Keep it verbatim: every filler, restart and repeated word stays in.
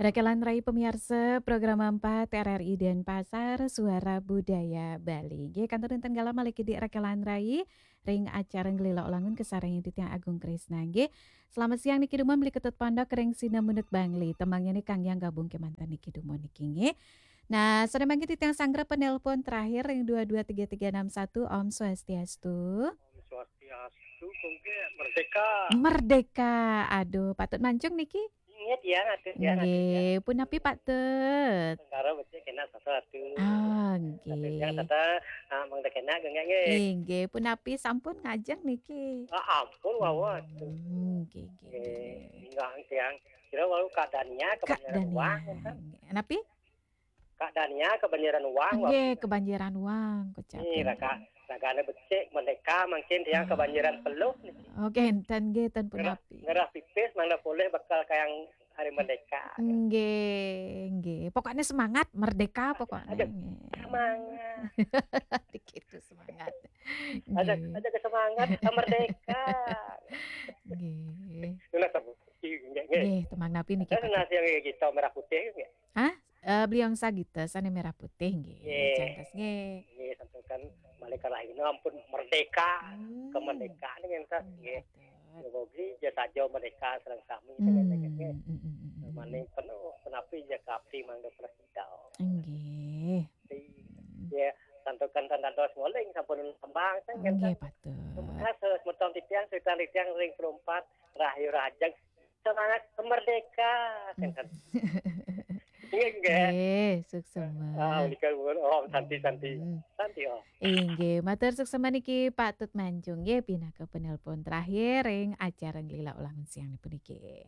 Rekelan Rai pemiarsa, program empat R R I Denpasar, Suara Budaya Bali. Nggih, kantun wonten galah malih kidik Rekelan Rai ring acara Nglelok Langun kasarengin titiang Agung Krisna, nggih. Selamat siang niki dumun, Beli Ketut Pondok ring Sinemunut Bangli. Temangnya nih kang yang gabung kemanten niki dumun niki, nggih. Nah, sore mangke titiang sanggra penelpon terakhir ring dua dua tiga tiga enam satu. Om Swastiastu. Om Swastiastu, kongke merdeka. Merdeka. Aduh, patut mancung niki. Inggih, tiang atur, tiang atur, tiang. Nggih, punapi patut? Sangkara becik kena satu atur. Ah, nggih. Tapi tiang tata, ah, mangda kena genggak, nggih. Inggih, punapi sampun ngajeng niki? Ah, ampun, wawa atur. Hmm, nggih, nggih, nggih. Nggih, nggih. Nggih, tiang. Kira walau keadaannya Kak kebanyakan Dania. Uang, kan? Nggih. Napi? Keadaannya kebanyakan uang, wawa. Nggih, kebanyakan uang, kocap. Nggih, raka, ragane becik, merdeka, mungkin tiang kebanyakan peluh niki. Oh, nggih, enten nggih, ten punapi. Ngerah, ngerah pipis, mangda polih bekal kayang hari merdeka. Nggih, nggih. Pokoknya semangat, merdeka pokoknya. Aduh, nggih. Semangat. Dikit tuh semangat. Ada, nggih. Ada kesemangat, merdeka. Nggih. Nunas nggih, nggih. Nggih, temang napi niki, Pak? Ada nasi yang kita merah putih, nggih. Hah? Eh, beliau sagita sane merah putih, nggih. Nggih. Cantos, nggih. Nggih, santukan malih kalahina ampun merdeka. Hmm. Kemerdekaan, nggih, nggih. Nggih, betul. Mogi ja saja merdeka sareng sami, hmm, nggih, nggih. Hmm, hmm, hmm, hmm. Maning penuh, punapi ja kapti mangga prasida. Nggih. Di, hmm, ya, santukan tan dados ngoling sampun tembang, nggih, nggih, patut. Semoga semeton titiang, setan titiang ring perumpat, rahayu rahajeng, semangat merdeka. Hmm. Inggih, nggih. Nggih, suksema. Ah, menika nuwun. Om Santi, Santi. Hmm. Santi, Om. Inggih, matur suksema niki patut mancung nggih pinaka penelpon terakhir ring acara Nglelok Langun siang puniki.